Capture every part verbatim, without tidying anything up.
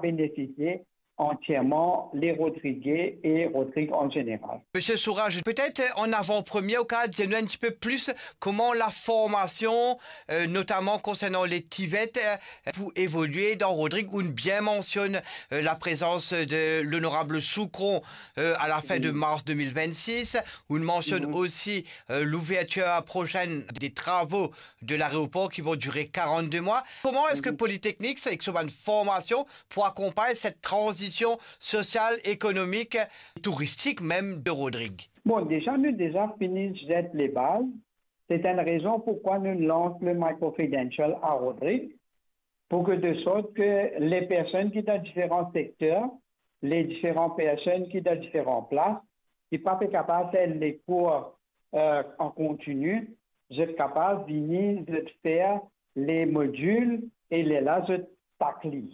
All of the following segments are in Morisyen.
bénéfisie antierman les Rodriguais et Rodrigue en général. Monsieur Sourage, peut-être en avant-première, ou kapav dir nou un petit peu plus comment la formation, euh, notamment concernant les TVET, euh, pour évoluer dans Rodrigue, ou bien mentionne, euh, la présence de l'honorable Soucron, euh, à la fin de mars deux mille vingt-six, ou mentionne aussi, euh, l'ouverture prochaine des travaux de l'aéroport qui vont durer quarante-deux mois. Comment est-ce que Polytechnique, c'est avec son formation pour accompagner cette transition sociale, économique, touristique même de Rodrigue? Bon, déjà, nous déjà fini zet les bases. C'est une raison pourquoi nous lançons le micro-credential à Rodrigue, pour que de sorte que les personnes qui dans différents secteurs, les différentes personnes qui dans différentes places, qui pas capables de faire les cours euh, en continu, zot kapav vini, zot fer les modules e lerla zot takli.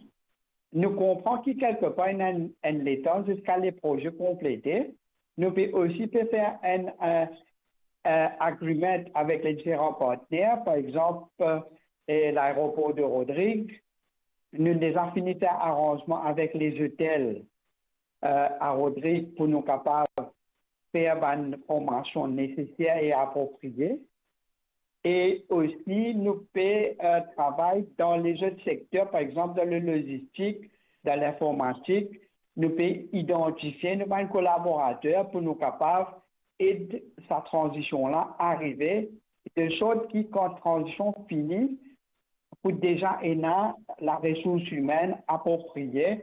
Nou konpran ki kelkepar ena enn, enn letan ziska le proze konplete. Nou pe osi pe fer enn, enn, enn agreement avek le diferan partner, par exanp, eh, laeropor de Rodrigue. Nou deza fini fer aranzman avek les hôtels, eh, a Rodrigue pou nou kapav fer bann formasion neseser e apropriye. E osi, nou pe, eh, travay dan lezot sekter, par exanp, dan le lozistik, dan linformatik, nou pe idantifie nou bann kolaborater pou nou kapav ed sa tranzision la arive, de sort ki kan tranzision fini, pou deza ena la resours imenn apropriye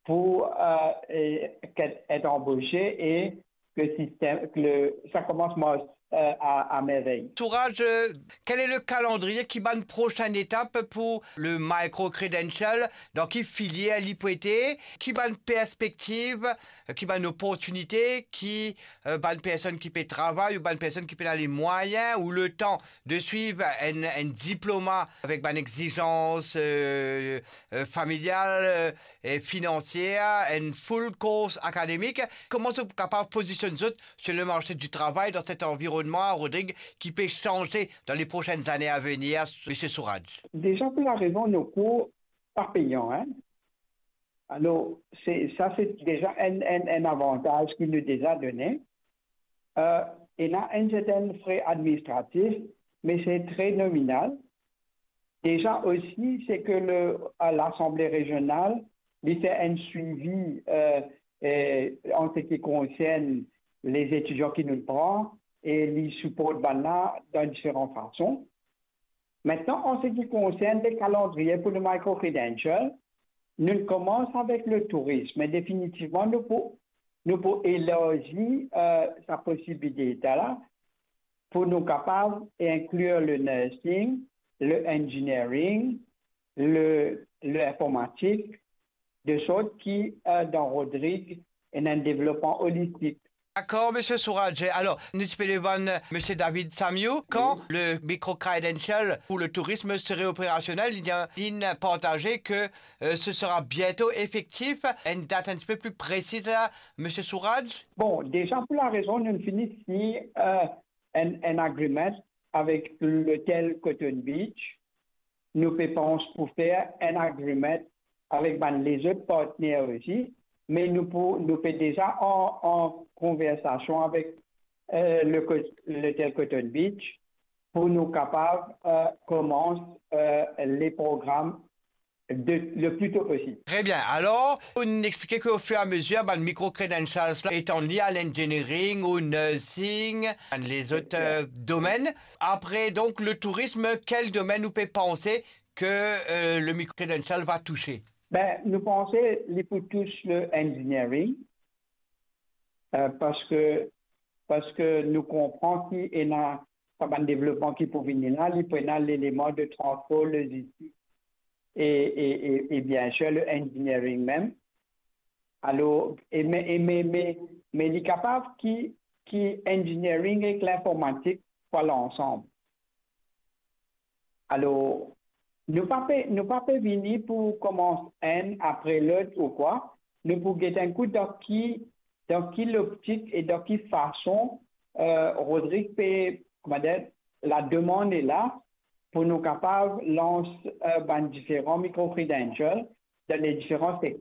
pou, eh, eh, get, et anbose e ke sistem, ke le, sa koumans mars, eh, a, a mervey. Souraj, eh, quel est le calendrier, ki bann prosin etap pour le micro credential, dan ki filier li pou ete, ki bann perspektiv, eh, ki bann oportinite, ki, eh, bann personn ki pe travay ou bann personn ki pena les moyens ou le tan de suivre un, un diplôme avec une exigence, euh, euh, familiale, euh, et financière, une full course académique. Kouma zot kapav pozisionn zot sur le marché du travail dans cet environnement, Rodrigue, qui peut changer dans les prochaines années à venir, Monsieur Souraj? Déjà, pour la raison, nos cours pas payants, hein. Alors, c'est, ça, c'est déjà un, un, un avantage qu'ils nous déjà donné. Euh, il y a un certain frais administratif, mais c'est très nominal. Déjà aussi, c'est que le, à l'Assemblée régionale, il fait un suivi, euh, euh, en ce qui concerne les étudiants qui nous prend et les supports dans différentes façons. Maintenant, en ce qui concerne le calendrier pour le micro-credential, nous commençons avec le tourisme, mais définitivement, nous pour, nous pour élargir, euh, sa possibilité-là, pour nous capables d'inclure le nursing, le engineering, le, l'informatique, de sorte qui, euh, dans Rodrigue, il y a un développement holistique. D'accord, Monsieur Souraj. Alors, nou ti pe demann Monsieur David Samiou, quand le micro-credential pour le tourisme serait opérationnel, il a, il a partagé que, euh, ce sera bientôt effectif. Une date un petit peu plus précise, là, Monsieur Souraj? Bon, déjà pour la raison, nous finissons, euh, un, un agreement avec l'hôtel Cotton Beach. Nou pe pans pou fer un agreement avek bann lezot partner osi, me nou pou, nou pe deza an, an konversasion avek, euh, le co-, l'hôtel Cotton Beach pou nou kapav, euh, koumans, euh, le program de, le plus tôt possible. Très bien. Alors, ou explike ke au fur et à mesure, bann micro-credentials la, etann li a l'engineering ou nursing, bann lezot, euh, domenn. Après, donc, le tourisme, quel domaine ou pe panse ke, euh, le micro-credential va toucher? Ben, nou panse li pou tous le engineering, euh, paske, paske nou konpran ki ena sa bann devlopman ki pou vini la, li pou ena leleman de transpor, logistik e, e, e, e bien sir le engineering mem. Alor, e me, e me, me, me li kapav ki, ki engineering ek linformatik pou al ansam. Alor, nou pa pe, nou pa pe vini pou koumans enn apre lot ou kwa. Nou pou get enn kou dan ki, dan ki loptik e dan ki fason, euh, Rodrigue pe, kouma dir, lademann ena pou nou kapav lans, euh, bann diferan micro-credential dan le diferan